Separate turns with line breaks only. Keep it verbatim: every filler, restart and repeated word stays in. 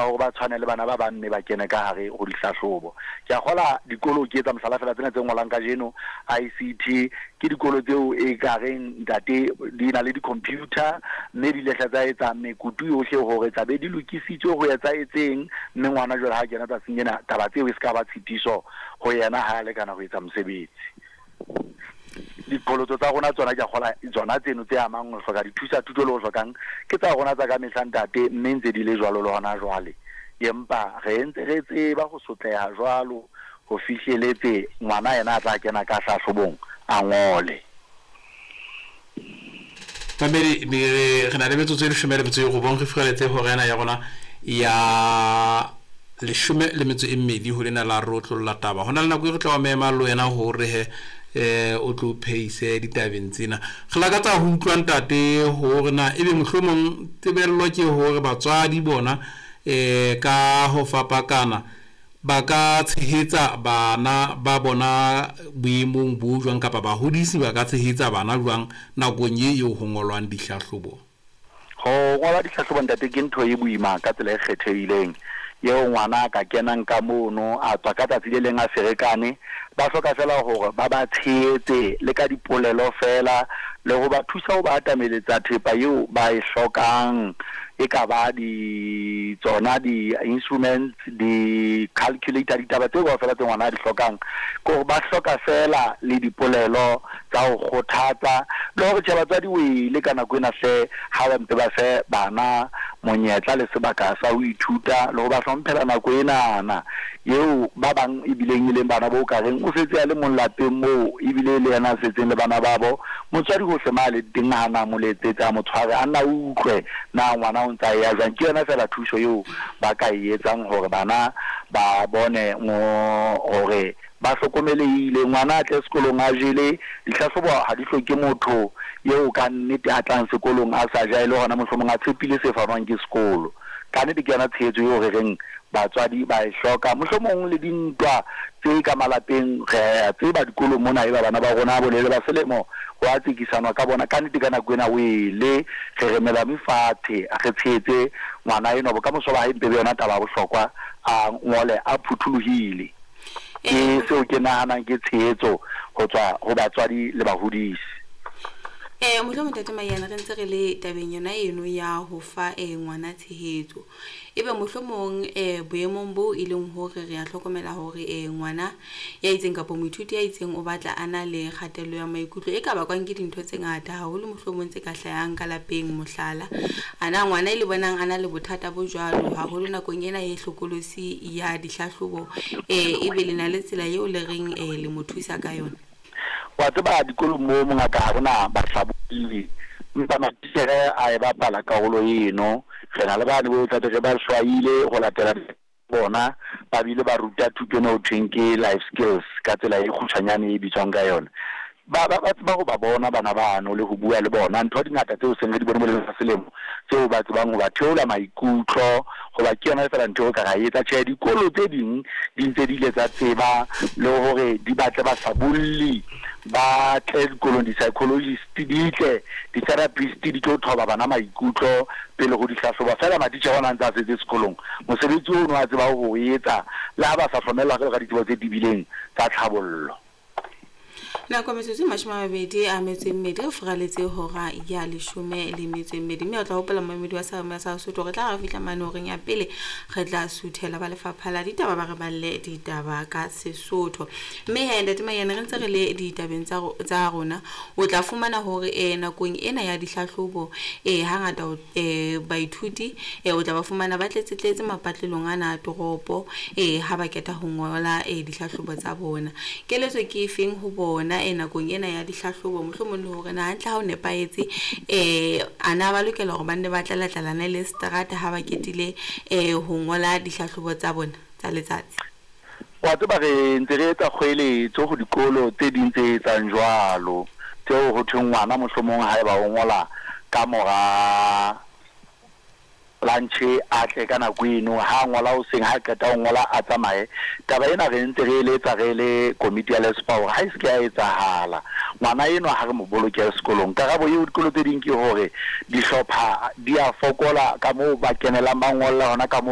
hore ba tshwane le bana ba bang mme ba kene ka hare ho dihlahlobo. Ke a kgola dikolo, ke etsa mohlala fela, tsena tse ngolang kajeno I C T, ke dikolo tseo e ka reng, ntate, di na le di-computer, mme di lehla tsa etsa mekutu yohle hore tlabe di lokisitswe ho etsa etseng, mme ngwana jwale ha kena tsatsing ena, taba tseo e se ka ba tshitiso ho yena ha a lekana ho etsa mosebetsi. Diqholotso tsa rona tsona, ke a kgola tsona tseno tse amang ho hloka dithusa thuto le ho hlokang ke tsa rona tsa ka mehla, ntate, mme ntse di le jwalo le hona jwale, empa re ntse re tseba ho sotleha jwalo ho fihleletse ngwana yena a tla kena ka hlahlobong a ngole.
Mamedi, re na le metsotso e leshome le metso e robong re fihleletse hora ena ya rona ya leshome le metso e mmedi ho lena la rotlolla taba. Ho na le nako e re tla wa mema le wena hore he eh o tlo phehise ditabeng tsena. Re lakatsa ho utlwa, ntate, hore na ebe mohlomong tebello ke hore batswadi bona eh ka ho fapakana ba ka tshehetsa bana ba bona boemong bo jwang, kapa bahodisi ba ka tshehetsa bana jwang nakong e eo ho ngolwang dihlahlobo?
Ho ngola dihlahlobo, ntate, ke ntho e boima ka tsela e kgethehileng eo ngwana a ka kenang ka mono, a tswa ka tsatsi le leng a ferekane. Ba hloka fela hore ba ba tshehetse le ka dipolelo fela, le ho ba thusa ho ba atameletsa thepa eo ba e hlokang, e ka ba di tsona di-instruments, di-calculator, ditaba tseo kaofela tse ngwana a di hlokang. Ke hore ba hloka fela le dipolelo tsa ho kgothatsa le hore tjhe, batswadi wele ka nako ena hle, ha ba mpe ba fe bana monyetla le sebaka sa ho ithuta le ho ba hlomphela nako enana eo ba bang ebileng e leng bana bo ka reng o setse a le mong lapeng moo, ebile le yena a setseng le bana babo. Motswadi hohle ma le teng, ha na mo letsetse, a mo tshware, a nna utlwe na ngwana o ntsa ya jwang. Ke yona fela thuso eo ba ka e etsang hore bana ba bone hore ba hlokomelehile. Ngwana a tle sekolong a jele. Dihlahlobo ha di hloke motho eo ka nnete a tlang sekolong a sa ja, e le hona mohlomong a tshepile se fanwang ke sekolo. Ka nnete ke yona tshehetso eo re reng batswadi ba e hloka. Mohlomong le dintwa tse ka malapeng, re a tseba dikolong mona e ba bana ba rona bolele ba selemo ho a tsekisanwa ka bona. Ka nnete ka nako ena wele re re melame fatshe, re tshehetse ngwana enwa, bokamoso ba hae mpe be yona taba ya bohlokwa, a ngole a phuthulohile. Ke seo ke nahanang ke tshehetso ho tswa ho batswadi le bahodisi.
Eh mohlomong, ntate Maiyane, re ntse re le tabeng yona eno ya ho fa eh ngwana tshehetso, ebe mohlomong eh boemong bo e leng hore re a hlokomela hore eh ngwana ya itseng kapa moithuti ya itseng o batla a na le kgatello ya maikutlo e ka bakwang ke dintho tse ngata haholo, mohlomong tse ka hlahang ka lapeng, mohlala, ana ngwana e le bonang a na le bothata bo jwalo haholo nakong ena e hlokolosi ya dihlahlobo, eh ebe le na le tsela eo le reng eh le mo thusa ka yona?
Wa tseba, dikolong mo mongaka ha rona bahlabolli, empa matitjhere a e bapala karolo eno. Re na le bane bo tlabe re ba hlwaile ho latela bona, ba bile ba ruta thuto ena ho thweng ke life skills ka tsela e kgutshwanyane e bitswang ka yona. Ba ba tseba ho ba bona bana bano le ho bua le bona. Ntho di ngata tseo seng re di bone boleng ba selemo tseo ba tsebang ho ba theola maikutlo, hoba ke yona fela ntho eo ka ra etsa. Tjhe, dikolo tse ding di ntse di ile tsa tseba le hore di batle bahlabolli ba tle dikolong, di-psychologist di tle, di-therapist di tlo thoba bana maikutlo pele ho dihlahlobo. Fela matitjhere ona a ntse a setse sekolong, mosebetsi ono a tseba ho etsa le ha ba sa hlomellwa jwalo ka ditsebo tse tebileng tsa tlhabollo.
Nako metsotso e mashome a mabedi a metso e mmedi re furaletse hora ya leshome le metso e mmedi, mme o tla hopola, momamedi wa sa sa Sotho, re tla re fihla mane horeng ya pele, re tla suthela ba lefapha la ditaba, ba re balle ditaba ka Sesotho. Mme he, ntate Maiyane, re ntse re le ditabeng tsa tsa rona, o tla fumana hore eh nakong ena ya dihlahlobo eh hangata eh baithuti eh o tla ba fumana ba tletse tletse mapatlelong ana a toropo eh ha ba keta ho ngola eh dihlahlobo tsa bona. Keletso ke efeng ho bona e nakong ena ya dihlahlobo, mohlomong le hore na hantle ha o nepahetse eh ana ba lokela hore ba nne ba tlala-tlalane le seterata ha ba ketile eh ho ngola dihlahlobo tsa bona tsa letsatsi?
Wa tseba, re ntse re etsa kgoeletso ho dikolo tse ding tse etsang jwalo, tseo ho thweng ngwana mohlomong haeba o ngola ka mora lunch, a tle ka nako eno ha ngola hoseng, ha qeta ho ngola a tsamaye. Taba ena re ntse re eletsa re le komiti ya LESPA hore ha e se ke ya etsahala, ngwana enwa ha re mo boloke sekolong. Karabo eo dikolo tse ding ke hore dihlopha di a fokola ka moo ba kenelang ba ngolla hona ka moo.